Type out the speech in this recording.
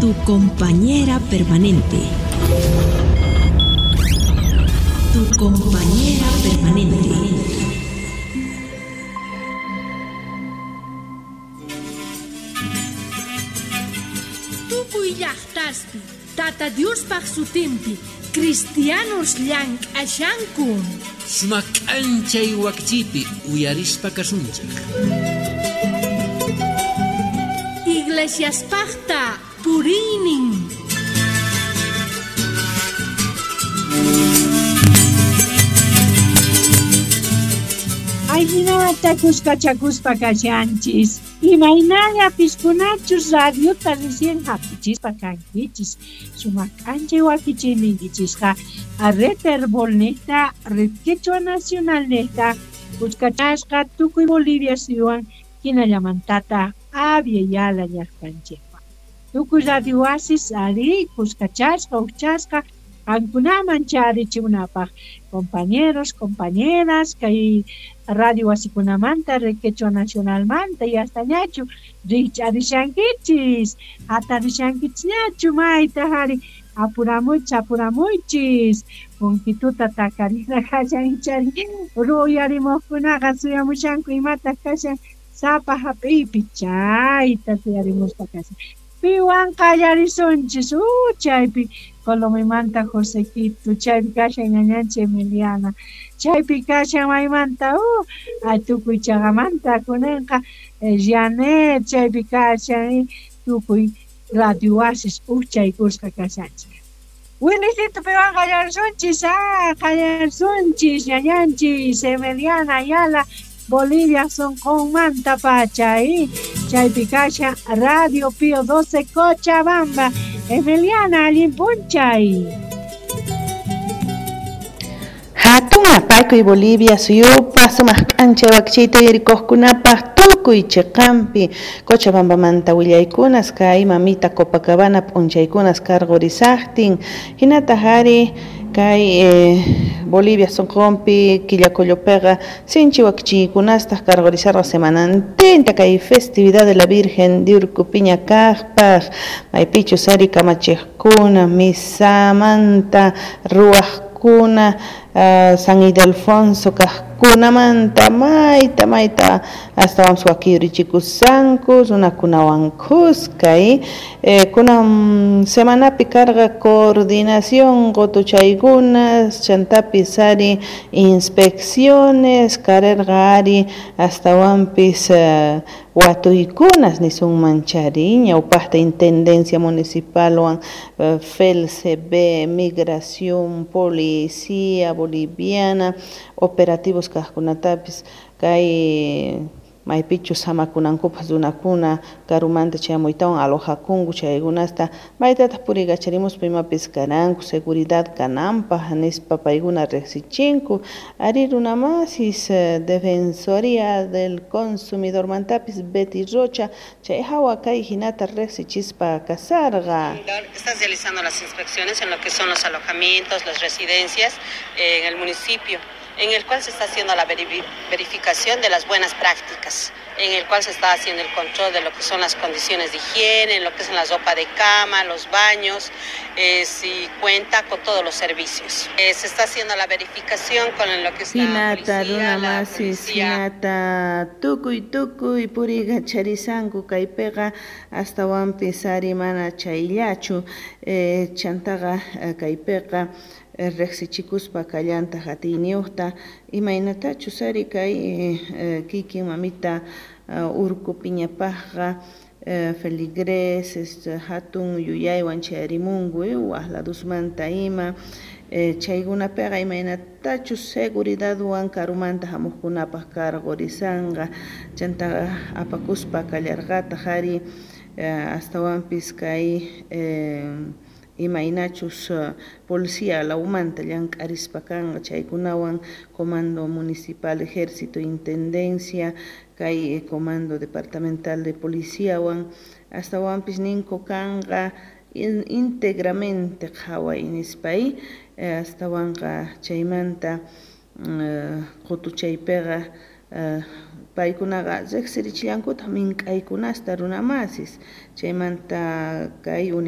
Tu compañera permanente. Tu compañera permanente. Tukuy llajtaspi Tata Diospaj sutinpi cristianos llank'ashanku. Sumaq k'anchay wakichiypi uyarispa kasunchik. Iglesiaspajta puriynin. Ayninata kuskachakuspa kashanchis. Imaynalla piskunachus radiota recién hap'ichispa kankichis. Sumaq k'anchay wakichiyniykichisqa Red Herbol-niqta, Red Quechua Nacional-niqta, kuskachasqa tukuy Bolivia suyuwan hinallamantata Abya Yala llaqtanchikwan. Tukuy radio wasis ari kuskachasqa uqchasqa qankunaman charichimunapaq. Compañeros, compañeras, kay radio wasikunamanta, Red Quechua Nacionalmanta y hasta ñachu rikch'arishankichis, hatarishankichisñachu mayta ari apuramuychis, apuramuychis, punkituta takarina kashan ichari ruyarimuqkunaqa suyamushanku imataq kashan sapa hap'iypi chayta suyarimuspa kashan. Piwan qallarisunchis, chaypi Colomimanta Josequito, chaypi kashan ñañanchik Emiliana, chaypi kashan maymanta, tukuy chaqamanta kunanqa Janet, chaypi kashan tukuy radio wasis uqchaykusqa kashanchik. Wilicito piwan qallarisunchis, qallarisunchis ñañanchis Emiliana Ayala, Bolivia sonqonmanta pacha, chaypi kashan Radio Pío 12 Cochabamba. Emiliana, allin p'unchay. Hatun apaykuy Bolivia suyupa sumaq k'anchay wakichiyta uyarikuqkunapaq tukuy chiqanpi Cochabambamanta willaykunas kay mamita Copacabana p'unchaykunas karqurisaqtin hinataq ari kay Bolivia sonqonpi Quillacollopiqa sinchi wakichiykunastaq karqurisarqa semanantinta kay festividad de la Virgen de Urcupiña kaqpaq maypichus ari kamachiqkuna misamanta ruwaqkuna San Ildefonso kaqkunamanta mayta mayta astawanpis wakiyurichikusanku runakunawan khuska kunan semanapi karqa coordinación qutuchaykunas chantapis ari inspecciones karerqa ari astawanpis watuykunas nisunman chari ñawpaqta intendencia municipalwan FELCB, migración, policía boliviana, operativos kaqkunatapis kay maypichus samakunankupaq runakuna karumanta chayamuytawan alojakunku chaykunasta maytataq puriykacharimuspa imapis karanku seguridad kananpaq nispa paykuna riqsichinku ari runamasis Defensoría del Consumidormantapis Betty Rocha chay hawa kay hinata riqsichispa kasarqa. Estás realizando las inspecciones en lo que son los alojamientos, las residencias en el municipio, en el cual se está haciendo la verificación de las buenas prácticas, en el cual se está haciendo el control de lo que son las condiciones de higiene, en lo que es la ropa de cama, los baños, si cuenta con todos los servicios. Se está haciendo la verificación con lo que es la policía, la policía. Hinata tukuy tukuy puriykacharisanku kaypiqa astawanpis ari mana chayllachu chantaqa kaypiqa riqsichikuspa kallantaq atiyniyuqta imaynatachus ari kay kikin mamita Urcupiñapaqqa feligreses hatun yuyaywan chayarimunku waq ladusmanta ima chaykunapiqa imaynatachus seguridadwan karumanta hamuqkunapaq karqurisanqa chantaqa apakuspa kallarqataq ari astawanpis kay imaynachus policía lawmanta llank'arispa kanqa chaykunawan comando municipal, ejército, intendencia, kay comando departamental de policiawan astawanpis ninku kanqa íntegramente qhaway nispay astawanqa chaymanta qutuchaypiqa paykunaqa riqsirichillankutaq mink'aykunasta runamasis chaymanta kay